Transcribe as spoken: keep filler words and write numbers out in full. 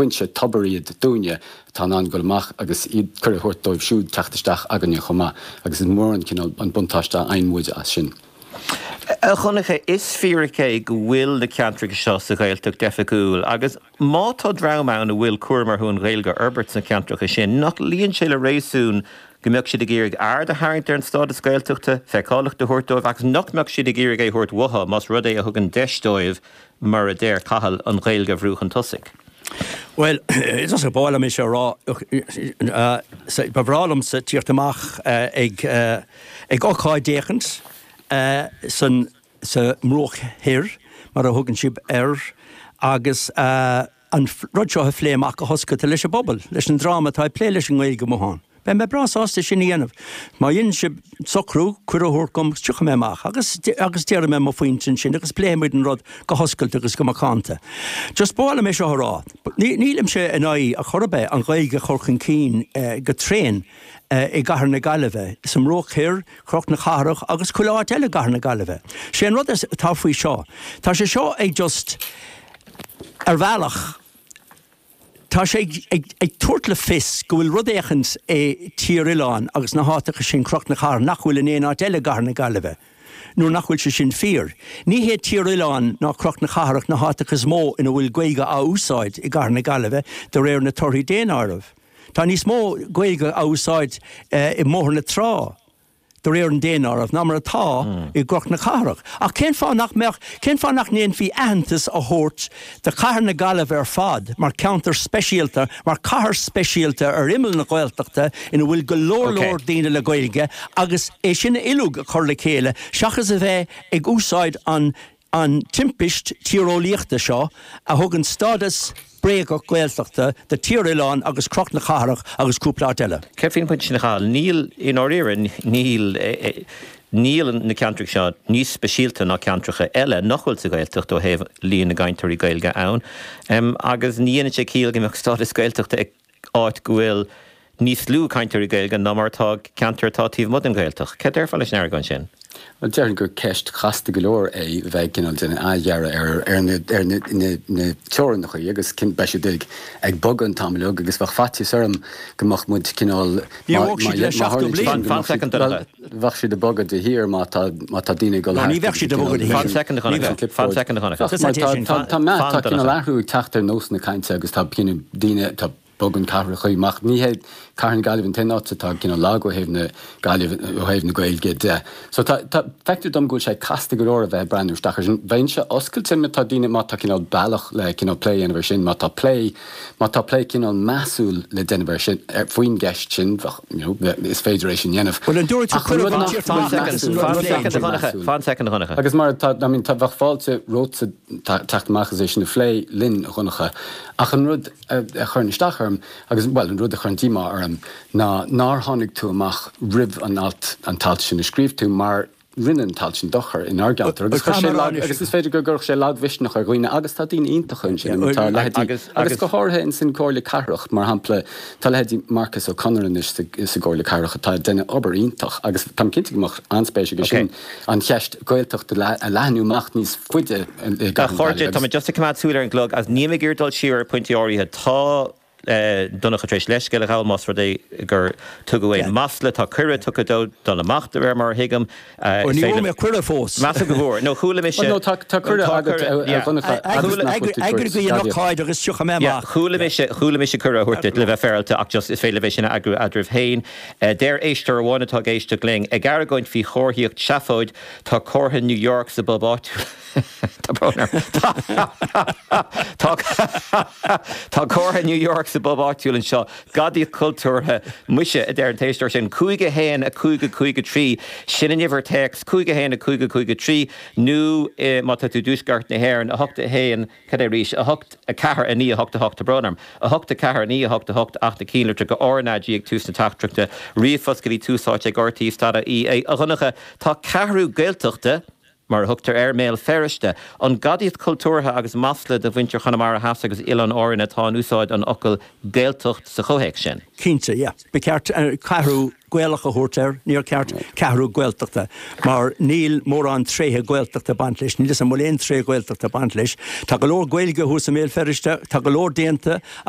foinse tobar iad dúinne atá in ann dul amach agus iad cuireadh a thabhairt dóibh siúd teacht isteach againne chomh maith agus is mór an cineál an buntáiste a fhaigheann muid as sin. A Dhonncha, is fíric é go bhfuil na ceantracha seo sa Ghaeltacht oifigiúil agus má tá dream ann a bhfuil cúram orthu an Ghaeilge a fhorbairt sna ceantracha sin, nach luíonn sé le réasún go mbeadh siad ag iarraidh aird a tharraingt ar an stádas Gaeltachta, feiceálacht a thabhairt dóibh agus nach mbeadh siad ag iarraidh é a thabhairt uathu más rud é a thugann deis dóibh mar a deir Cathal an Ghaeilge a bhrú chun tosaigh. Well, is ba mhaith liom é rá ba bhreá liomsa tíocht amach ag ag ócáid éicint san sa mBruach Thoir mar a thugann sibh air agus an rud seo a phlé amach go hoscailte leis an bpobal, leis an dream atá ag plé leis an nGaeilge amuigh ann. Beidh mé breá sásta sin a dhéanamh. Má dhéanann sibh socrú cuireadh a thabhairt dom tiocfaidh mé amach agus agus déarfaidh mé mo phointe ansin agus pléifimid an rud go hoscailte agus go macánta. Just ba mhaith liom é seo a rá. Nílimse in aghaidh a chor ar bith an Ghaeilge a chur chun cinn go tréan i gCathair na Gaillimhe, sa mBruach Thoir, Cnoc na Cathrach agus chuile áit eile i gCathair na Gaillimhe. Sé an rud atá faoi seo. Tá sé seo ag just ar bhealach Tá sé ag, ag tabhairt le fios go bhfuil rud éicint i Tír Oileáin agus na háiteacha sin Cnoc na Cathrach nach bhfuil in aon áit eile i gCathair na Gaillimhe. Nuair nach bhfuil sé sin fíor. Ní hé Tír Oileáin ná Cnoc na Cathrach na háiteacha is mó ina bhfuil Gaeilge á úsáid i gCathair na Gaillimhe de réir na torthaí daonáirimh. Tá níos mó Gaeilge á úsáid i mBóthar na Trá de réir an daonáirimh ná mar atá i gCnoc na Cathrach. Ach cén fáth nach mbeadh cén fáth nach ndéanfaí aitheantas a thabhairt do Chathair na Gaillimhe ar fad mar ceantar speisialta, mar cathair speisialta ar imeall na Gaeltachta ina bhfuil go leor leor daoine le Gaeilge agus é sin uilig a chur le chéile seachas a bheith ag úsáid an an timpist tíreolaíochta seo a thugann stádas bréagach Gaeltachta do Tír Oileáin agus Cnoc na Cathrach agus cúpla áit eile. Céard faoin bpointe sin a Chathail? Níl i ndáiríre níl níl na ceantracha seo níos speisialta ná ceantracha eile nach bhfuil sa Ghaeltacht ó thaobh líon na gcainteoirí Gaeilge ann. Um, agus ní dhéanann sé ciall go mbeadh stádas Gaeltachta ag áit go bhfuil níos lú cainteoirí Gaeilge ná mar atá ceantar atá taobh amuigh den Ghaeltacht. Cad déarfá leis an argóint sin? Well, déarfainn gur ceist chasta go leor é bheith cineál den athdhearadh ar ar na ar na na na teorainneacha agus cinn beidh siad ag ag bogadh an t-am uilig agus bheadh faitíos orm go mbeadh muid cineál Ní bheadh siad le seachtó bliain. Fan soicind, Donncha. Bheadh siad ag bogadh de shíor má tá má tá daoine ag dul No, ní bheadh siad ag bogadh de shíor. Fan soicind a Dhonncha. Fan soicind a Dhonncha. Mar tá tá tá meath tá cineál athrú ag teacht ar nós na cainte agus tá cineál daoine tá bogann cathracha amach ní hé Cathair na Gaillimhe an t-aon áit atá cineál lag ó thaobh na Gaillimh ó thaobh na Gaeilge de. So tá tá feictear dom go bhfuil sé casta go leor a bheith ag breathnú isteach ar sin. Bheinnse oscailte má tá daoine má tá cineál bealach le cineál plé a dhéanamh ar sin, má tá plé má tá plé cineál measúil le déanamh ar sin ar faoin gceist sin bheadh you know, is féidir é sin dhéanamh. Well, an dúirt tú Ach an cuireadh rud an nach tír bhfuil fan measúil, Fan rud soicind a nach Dhonncha. measúil. Fan soicind a Dhonncha. Agus mar tá I mean, tá bheadh fáilte romhatsa teacht amach as é sin a phlé linn a Dhonncha. Ach an rud a, a chuireann isteach orm agus well an rud a chuireann díomá orm ná nár tháinig tú amach roimh an alt an t-alt sin a scríobh tú mar rinne an t-alt sin dochar inár gceantar agus chuir sé lag agus is féidir go gcuirfeadh sé lagmhisneach ar dhaoine agus tá daoine iontacha ansin tá leithéidí Agus- agus agus- go háirithe in san Comhairle Cathrach mar shampla tá leithéidí Marcus O'Connor anois sa sa gComhairle Cathrach atá ag déanamh obair iontach agus táim cinnte go mbeadh an-spéis aige sin an cheist Gaeltacht a le- a leathnú amach níos faide i A gCathair na chairde Gaillimhe tá agus just ag coimeád súil ar an gclog agus níl mé ag iarraidh dul siar ar pointí áirithe tá eh, Donncha tar éis leithscéal a ghabháil más rud é gur tugadh aon masla tá cuireadh tugtha dó dul amach de réir mar a thuigim. Eh, Ó is ní féidir- bhfuair mé cuireadh fós. Measaim go bhfuair. No chuala mise. Well, no, tá tá cuireadh Tá agat cuireadh, a yeah. Dhonncha agus nach bhfuil tú Eagraigh tabhairt an gadaíocht. ócáid agus tiocfaidh mé Yeah, amach. Chuala mise chuala mise cuireadh a thabhairt duit le bheith féaráilte ach just is féidir leis sin a eagrú eadraibh féin. Uh, Deir éisteoir amháin atá ag éisteacht linn ag argóint faoi chomharthaíocht seafóid tá comhartha New York sa bpub áitiúil. Tá brón orm. Tá Tá comhartha New York sa bpub áitiúil anseo gadaíocht cultúrtha muise a deir an t-éisteoir sin cúig a haon a cúig a cúig a trí sin an uimhir téacs cúig a haon a cúig a cúig a trí nó eh, má tá tú i dtuaisceart na hÉireann a hocht a haon cad é arís a hocht a ceathair a naoi a hocht a hocht tá brón orm a hocht a ceathair a naoi a hocht a hocht ach na cinnlitreacha RnaG ag tús na teachtaireachta ríomhphost go dtí Tús Áite ag RTÉ dot ie a Dhonncha tá ceathrú Gaeltachta mar a thugtar ar Bhéal Feirste, an gadaíocht cultúrtha agus masla do mhuintir Chonamara Theas agus Oileáin Árann atá in úsáid an fhocail Gaeltacht sa chomhthéacs sin. Cinnte, yeah. Ba cheart uh, ceathrú Gaelach a thabhairt air, níor cheart ceathrú Gaeltachta, mar níl mórán tréithe Gaeltachta ag baint leis, níl an bhfuil aon tréith Gaeltachta ag baint leis. Tá go leor Gaeilge thuas i mBéal Feirste, tá go leor déanta